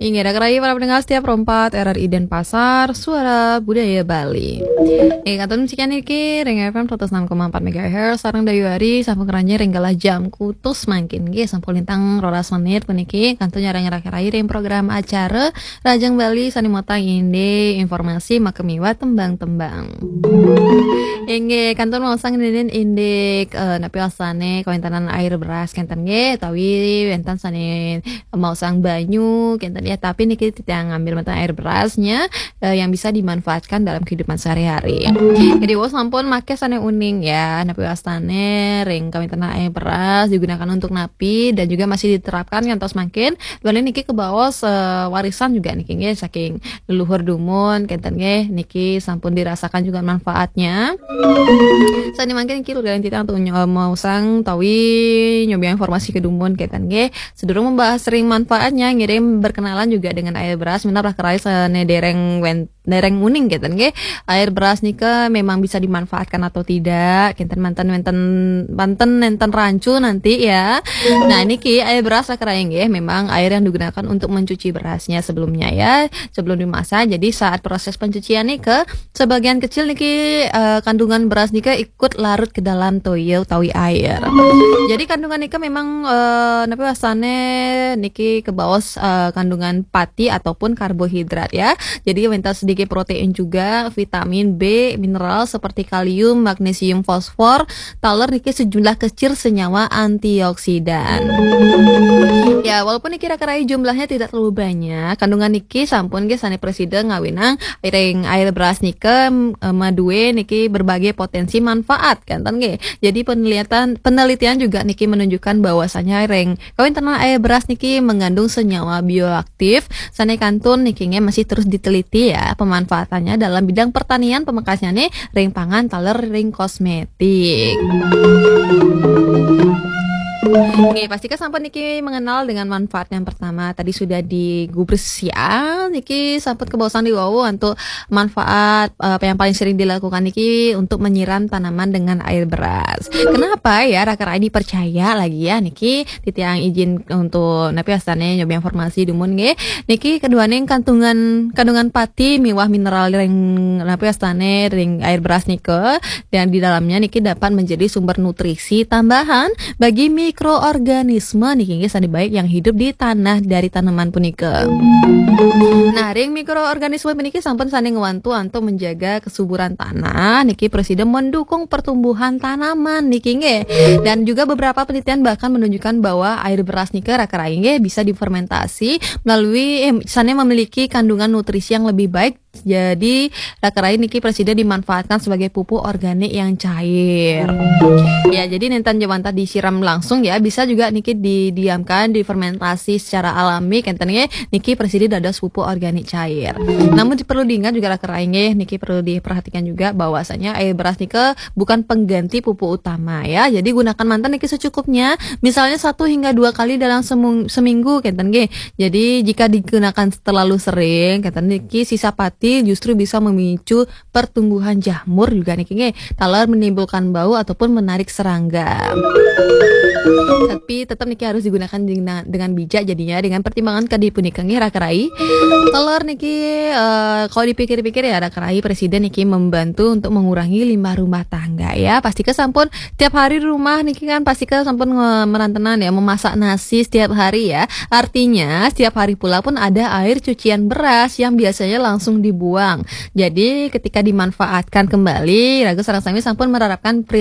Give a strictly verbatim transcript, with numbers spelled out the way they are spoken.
Inggih, raka rayi para pendengar setia Pro empat R R I Denpasar, Suara Budaya Bali. Inggih, kantun sekian niki ring F M seratus enam koma empat megahertz, sareng Dayu Ari, sampun keranjing ring galah jam kutus mangkin. Nggih, sampun lintang rolas menit puniki, kantun nyarengin raka rayi ring program acara Rajang Bali sane motang indik informasi makamiwah tembang-tembang. Inggih, kantun maosang ngenenin indik, eh, napi wastane kawenten air beras kenten nggih, utawi wenten sane maosang banyu kenten ya, tapi niki titiang ngambil manten air berasnya, eh, yang bisa dimanfaatkan dalam kehidupan sehari-hari. Jadi, wau sampun make sane uning ya, napi wastane ring kawenten air beras digunakan untuk napi dan juga masih diterapkan ngantos mangkin. Duaning niki kebaos, eh, warisan juga niki nggih saking leluhur dumun kenten nggih, niki sampun dirasakan juga manfaatnya. Sane mangkin niki ludaning titiang untuk nyo-, maosang utawi nyobiahang informasi ke dumun kenten nggih. Sedurung membahas ring manfaatnya, ngiring berkenalan juga dengan air beras, minab raka rayi sane dereng wen-, dereng uning kenten nggih. Air beras nika memang bisa dimanfaatkan atau tidak, kenten manten wenten, manten nenten rancu nanti ya. Nah, niki air beras raka rayi nggih, memang air yang digunakan untuk mencuci berasnya sebelumnya ya, sebelum dimasak. Jadi saat proses pencucian nika, sebagian kecil niki, eh, kandungan beras nika ikut larut ke dalam toya utawi air. Jadi kandungan nika memang, eh, napi wastane niki kebaos, eh, kandungan pati ataupun karbohidrat ya. Jadi wenten sedikit protein juga, vitamin B, mineral seperti kalium, magnesium, fosfor, taler niki sejumlah kecil senyawa antioksidan. Ya, walaupun niki raka rayi jumlahnya tidak terlalu banyak, kandungan niki sampun nggih sane prasida ngawinang ring air beras nika, em, madue niki berbagai potensi manfaat kenten nggih. Jadi penelitian, penelitian juga niki menunjukkan bahwasanya ring kawentenan air beras niki mengandung senyawa bioaktif sane kantun niki nggih masih terus diteliti ya pemanfaatannya dalam bidang pertanian, pamekasnyane ring pangan taler ring kosmetik. Oke, pastika sampun niki mengenal dengan manfaat yang pertama. Tadi sudah digubris ya, niki sampun kebaosang di wau untuk manfaat, eh, yang paling sering dilakukan niki untuk menyiram tanaman dengan air beras. Kenapa ya raka rayi percaya lagi ya niki titiang izin untuk napi wastane nyobiahang informasi dumun nggih. Niki keduaning kandungan, kandungan pati miwah mineral ring napi wastane ring air beras nika, dan di dalamnya niki dapat menjadi sumber nutrisi tambahan bagi mikroorganisme niki nggih sane baik yang hidup di tanah dari tanaman punika. Nah, ring mikroorganisme puniki sampun sane ngwantu untuk menjaga kesuburan tanah niki prasida mendukung pertumbuhan tanaman niki nggih. Dan juga beberapa penelitian bahkan menunjukkan bahwa air beras nika raka rayi nggih bisa difermentasi melalui, eh, sane memiliki kandungan nutrisi yang lebih baik. Jadi raka rayi niki prasida dimanfaatkan sebagai pupuk organik yang cair. Ya, jadi nenten ja wantah disiram langsung ya, bisa juga niki didiamkan, difermentasi secara alami kenten nggih, niki prasida dados pupuk organik cair. Namun perlu diingat juga raka rayi nggih, niki perlu diperhatikan juga bahwasanya air beras nika bukan pengganti pupuk utama ya. Jadi gunakan manten niki secukupnya, misalnya satu hingga dua kali dalam semung-, seminggu kenten nggih. Jadi jika digunakan terlalu sering kenten niki sisa pati justru bisa memicu pertumbuhan jamur juga niki nggih. Taler menimbulkan bau ataupun menarik serangga. Tapi tetap niki harus digunakan dengan, dengan bijak jadinya, dengan pertimbangan kadi punika nggih raka rayi. Taler niki, eh, kalau dipikir-pikir ya raka rayi prasida niki membantu untuk mengurangi limbah rumah tangga ya. Pastika sampun tiap hari di rumah niki kan pastika sampun nge-, merantenan ya, memasak nasi setiap hari ya. Artinya setiap hari pula pun ada air cucian beras yang biasanya langsung dibuang. Jadi ketika dimanfaatkan kembali, raga sareng sami sampun menerapkan prinsip